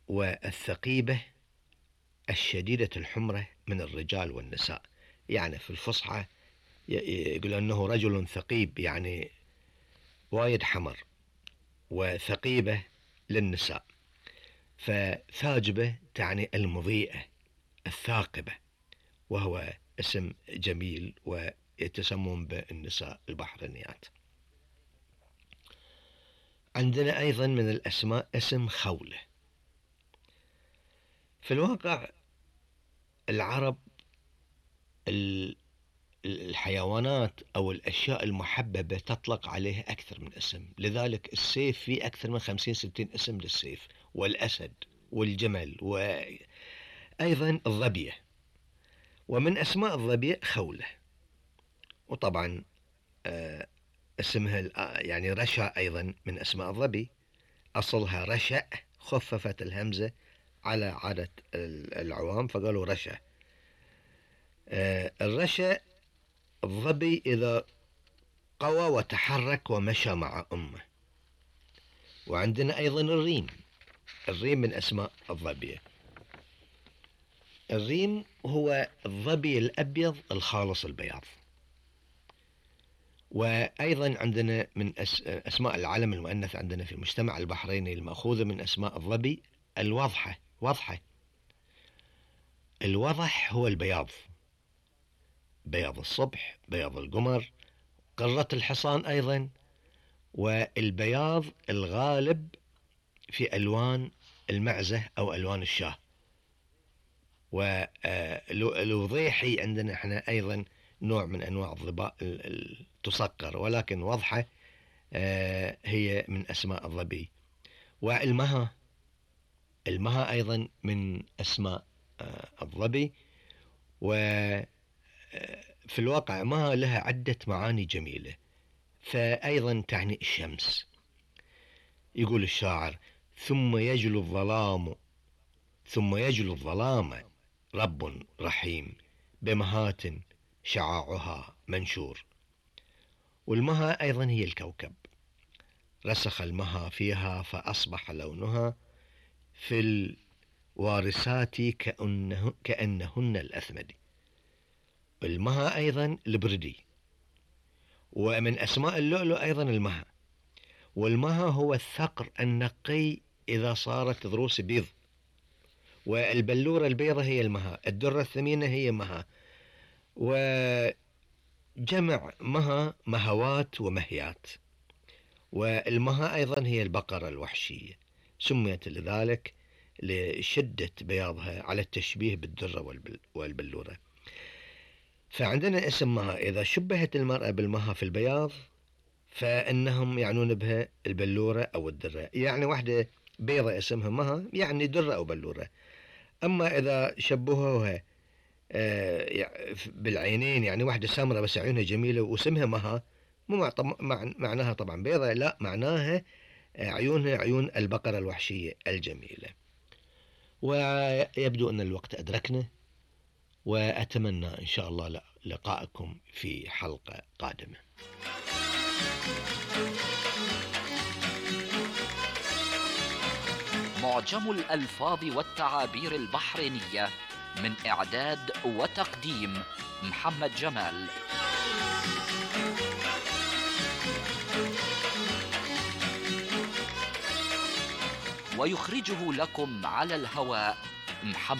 والثقيبة الشديدة الحمرة من الرجال والنساء. يعني في الفصحى يقول أنه رجل ثقيب، يعني وايد حمر، وثقيبة للنساء. فثاجبة تعني المضيئة الثاقبة، وهو اسم جميل ويتسمون بالنساء البحرينيات. عندنا أيضا من الأسماء اسم خولة. في الواقع العرب الحيوانات أو الأشياء المحببة تطلق عليها أكثر من اسم، لذلك السيف فيه أكثر من 50-60 اسم للسيف، والأسد والجمل، وأيضا الظبية. ومن أسماء الظبية خولة. وطبعا اسمها يعني رشا أيضا من أسماء الظبي، أصلها رشأ، خففت الهمزة على عادة العوام فقالوا رشا. الرشا الظبي إذا قوى وتحرك ومشى مع أمه. وعندنا أيضا الريم. الريم من أسماء الظبية. الريم هو الظبي الأبيض الخالص البياض. وأيضا عندنا من أسماء العلم المؤنث عندنا في المجتمع البحريني المأخوذة من أسماء الظبي الوضحة. وضحة. الوضح هو البياض، بياض الصبح، بياض القمر، قرة الحصان أيضا، والبياض الغالب في ألوان المعزة أو ألوان الشاه. والوضيحي عندنا احنا أيضا نوع من أنواع الظباء تصقر، ولكن وضحة هي من أسماء الظبي. والمها، المها أيضا من أسماء الظبي. وفي الواقع مها لها عدة معاني جميلة، فأيضا تعني الشمس. يقول الشاعر: ثم يجلو الظلام رب رحيم، بمهات شعاعها منشور. والمها أيضا هي الكوكب، رسخ المها فيها فأصبح لونها في الوارسات كأنهن الأثمد. المها أيضا البردي. ومن أسماء اللؤلؤ أيضا المها. والمها هو الثقر النقي إذا صارت ضروس بيض. والبلورة البيضة هي المها. الدرة الثمينة هي مها. وجمع مها مهوات ومهيات. والمها أيضا هي البقرة الوحشية، سميت لذلك لشدة بياضها على التشبيه بالدرة والبلورة. فعندنا اسم مها إذا شبهت المرأة بالمها في البياض فإنهم يعنون بها البلورة أو الدرة. يعني واحدة بيضة اسمها مها يعني درة أو بلورة. أما إذا شبهوها بالعينين، يعني واحدة سمرة بس عيونها جميلة واسمها مها، مو معناها طبعا بيضة، لا، معناها عيونها عيون البقرة الوحشية الجميلة. ويبدو أن الوقت أدركنا، وأتمنى إن شاء الله لقائكم في حلقة قادمة. معجم الألفاظ والتعابير البحرينية، من إعداد وتقديم محمد جمال. ويخرجه لكم على الهواء محمد